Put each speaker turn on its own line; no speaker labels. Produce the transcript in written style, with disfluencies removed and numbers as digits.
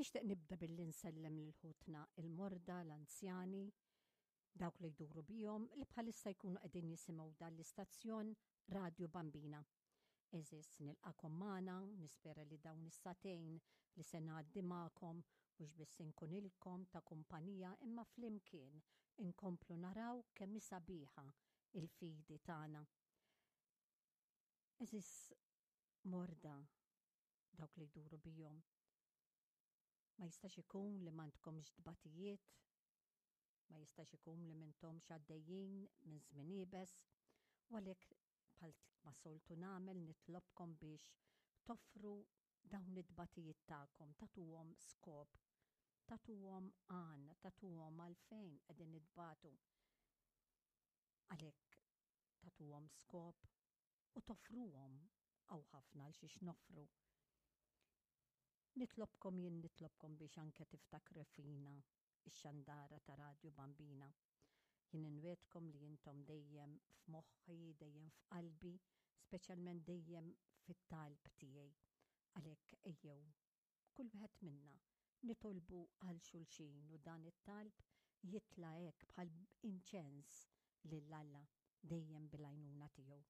Nixtieq nibda billi nsellem lil ħutna il-morda, l-anzjani, dawk li jduru bihom li bħalissa jkunu qegħdin jisimgħu dan l-istazzjon Radju Bambina. Għeżież nilqakom magħna, nispera li dawn is-sagħtejn li se ngħaddi magħkom mhux biss inkunilkom ta' kumpanija imma flimkien inkomplu naraw kemm hi sabiħa il-fidi tagħna. Għeżież morda, dawk li jduru bihom, ma jistax ikun li m'għandkomx tbatijiet, ma jistax ikun li m'intomx għaddejjin minn żmien iebes, u għalhekk bħal ma soltu nagħmel nitlobkom biex toffru dawn it-tbatijiet tagħkom, tagħtuhom skop, tagħtuhom għan, tagħtuhom għalfejn qegħdin nitbatu. Għalhekk tagħtuhom skop u toffruhom hawn ħafna għal xiex noffru. Nitlobkom jien nitlobkom biex anke tiftakru fina ix-xandara ta' Radju Bambina. Jien inwiegħdkom li intom dejjem f'moħħi, dejjem f'qalbi, speċjalment dejjem fit-talb tiegħi. Għalhekk ejjew, kull wieħed minna, nitolbu għal xulxin u dan it-talb jitla' hekk bħal inċens lil Alla dejjem bil-għajnuna tiegħu.